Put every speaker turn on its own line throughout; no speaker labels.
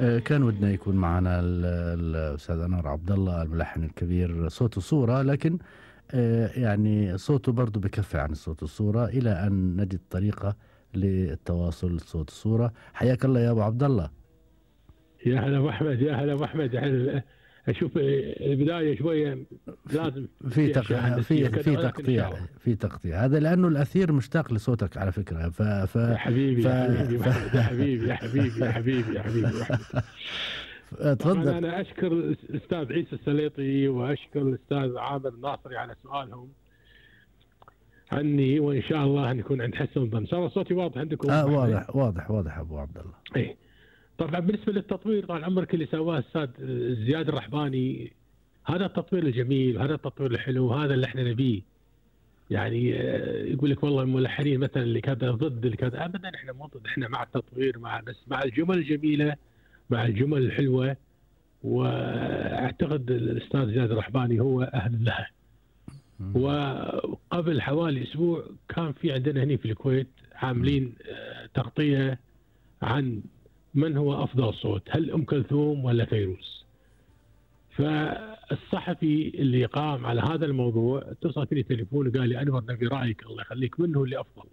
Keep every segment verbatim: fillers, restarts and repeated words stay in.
آه، كان ودنا يكون معنا ال- الأستاذ أنور عبد الله الملحن الكبير صوت وصورة، لكن آه، يعني صوته برضه بكفي عن الصوت والصورة إلى أن نجد طريقة للتواصل صوت الصورة. حياك الله يا أبو عبد الله.
يا هلا ابو احمد، يا هلا ابو احمد. يعني اشوف البدايه شويه
في
لازم
في
في اشياء
تق-
هندسيه
في
وكذا،
في
ولكن ان شاء
تقطيع
الله.
في تقطيع هذا لأنه الأثير مشتاق لصوتك على فكرة. ف ف
يا حبيبي
ف,
يا حبيبي ابو
ف...
احمد، يا حبيبي يا حبيبي يا حبيبي يا حبيبي ابو احمد. طبعا
تفضل.
انا اشكر الاستاذ عيسى السليطي واشكر الاستاذ عامر الناصري على سؤالهم عني، وان شاء الله نكون عند حسن الظن. صار صوتي واضح عندكم؟
آه واضح واضح واضح أبو عبد الله.
ايه. طبعا بالنسبه للتطوير، طال عمرك اللي سواه الاستاذ زياد الرحباني، هذا التطوير الجميل وهذا التطوير الحلو وهذا اللي احنا نبيه. يعني آه، يقول لك والله الملحنين مثلا اللي كذا ضد اللي كذا، ابدا احنا مو ضد، احنا مع التطوير، مع بس مع الجمل الجميله، مع الجمل الحلوه. واعتقد الاستاذ زياد الرحباني هو اهل لها. وقبل حوالي اسبوع كان في عندنا هنا في الكويت عاملين آه، تغطيه عن من هو افضل صوت، هل ام كلثوم ولا فيروز؟ فالصحفي اللي قام على هذا الموضوع اتصل فيني تليفون وقال لي انور نبي رايك الله يخليك، من هو اللي افضل،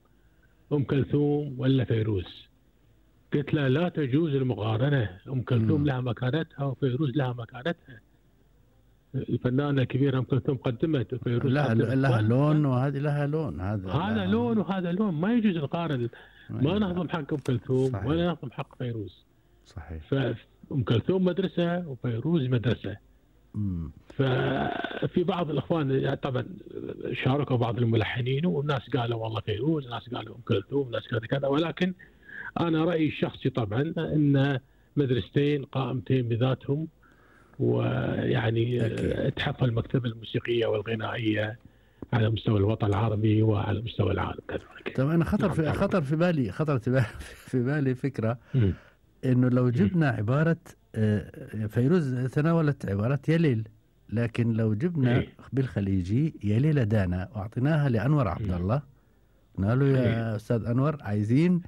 ام كلثوم ولا فيروز؟ قلت له لا تجوز المقارنه، ام كلثوم لها مكانتها وفيروز لها مكانتها. الفنانه الكبيره ام كلثوم قدمت وفيروز
لها
قدمت.
لها لون وهذه لها لون. هذا
هذا
لها
لون وهذا لون، ما يجوز نقارن. ما نهضم حق ام كلثوم
صحيح.
ولا نهضم حق فيروز.
صحيح.
فام كلثوم مدرسه وفيروز مدرسه.
مم.
ففي بعض الاخوان يعني طبعا شاركوا بعض الملحنين، وناس قالوا والله فيروز، ناس قالوا ام كلثوم، ناس كذا كذا. ولكن انا رايي الشخصي طبعا ان مدرستين قائمتين بذاتهم، ويعني
أكيد.
تحفل المكتبه الموسيقيه والغنائيه على مستوى الوطن العربي وعلى مستوى العالم كذلك.
طب انا خطر
نعم
في
طبعاً.
خطر في بالي خطرت في بالي في بالي فكره،
مم.
انه لو جبنا عباره آه، فيروز تناولت عباره يا ليل، لكن لو جبنا
إيه.
بالخليجي يا ليل دانا واعطيناها لانور عبد الله، قلنا له يا
إيه.
استاذ انور عايزين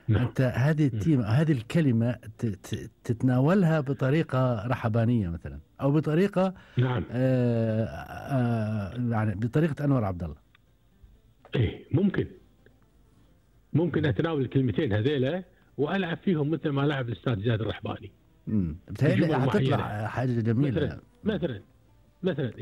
نعم.
انت هذه التيمه هذه الكلمه ت- ت- تتناولها بطريقه رحبانيه مثلا، او بطريقه
نعم.
آه، آه، يعني بطريقه انور عبد الله.
ايه ممكن ممكن اتناول الكلمتين هذيلا والعب فيهم مثل ما لعب الاستاذ زياد الرحباني.
امم بتهيألي
بجمل
حتطلع
معينة.
حاجه جميله.
مثلا مثلا مثلا